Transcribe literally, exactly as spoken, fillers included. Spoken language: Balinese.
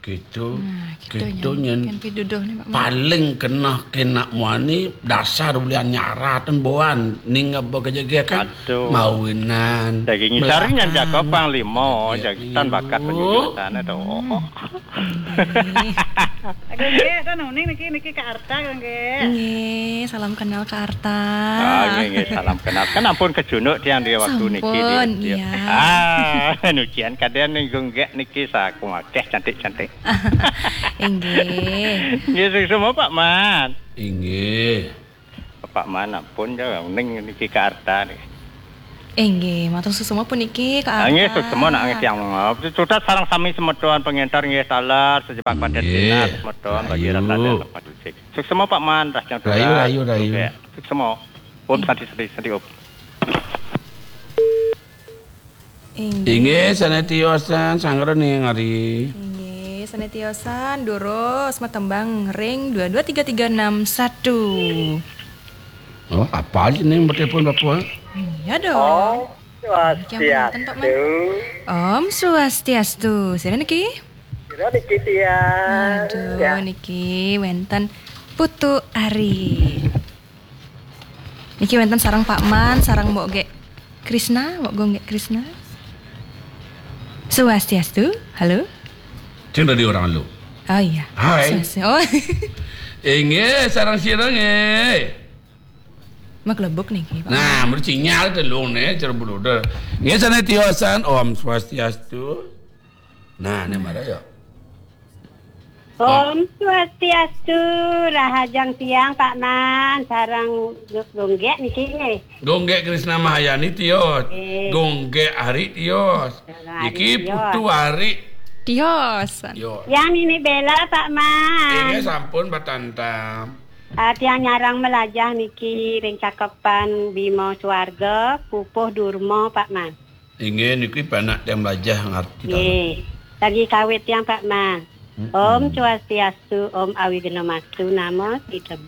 Gitu. Nah, gitu, gitu nyen. Nyen. Kan piduduh nih, Pak Man. Paling kena, kena muani dasar bulian nyarat ten boan ning apa kejege kan. Aduh. Mawinan. Daging ngisar nyen jago panglima, jago tan bakat penjujur sana to. Hmm. Aduh, nggih, to nuning niki, niki Kak Arta, nggih. Nggih, salam kenal Kak Arta. Ah, nggih, nggak salam kenal. Kan ampun kejunuk tiang di waktu niki, sampun, iya. Ah, nujian kadang ning gonggek niki saku akeh cantik-cantik. Inggih. Nggih, suksma, Pak Man. Inggih. Pak Man ampun ya ning niki Kak Arta nih. Inggih, matur suksma puniki Kak Arta. Ah, nggih, suksma nak nggih tiang. Suksma sareng sami semeton pengentar nggih taler sejepak padet dinas semeton bagi rasa dan tempat suci. Suksma Pak Man, rasa rayu, rayu, rayu. Suksma. Om Santi, Santi, Santi, Om. Inggih. Inggih, sané tiosan, sangrening ari. Inggih, sané tiosan, durus matembang ring dua dua tiga tiga enam satu. Oh, apa aja nih mau telepon Bapak? Iya dong. Oh, Swastiastu. Om Swastiastu. Sira niki? Sira niki tiang. Aduh, ya. Niki wénten Putu Ari. Niki wénten sareng Pak Man, sareng Mbok Gek Krisna, Mbok Gonggek Krisna. Swastiastu, halo. Cing tadi orang lu. Oh iya. Hai. Swastiastu. Oh. Inggih, sareng sira nggih. Maglebuk niki, Pak. Nah, mriki sinyal telung nih, cara beruder. Nggih, sané tiosan, Om Swastiastu. Nah, ini marah ya. Om Swastiastu, rahajeng tiang Pak Man, sareng Gonggek niki nggih. Gonggek Krisna Mahayani tios. Nggih. Gonggek Ari tios. Gonggek Ari tios. Niki Putu Ari. Tios. Tios. Tiang Nini Bella Pak Man. Inggih sampun Pak Tantam. Ah, tiang nyarang melajah niki ring cakepan Bima Swarga, Pupuh Durma Pak Man. Inggih niki penak tiang melajah ngarti. Nggih. Lagi kawit tiang Pak Man. Mm-mm. Om Swastiastu, Om Awighnamastu, Namo Sidham.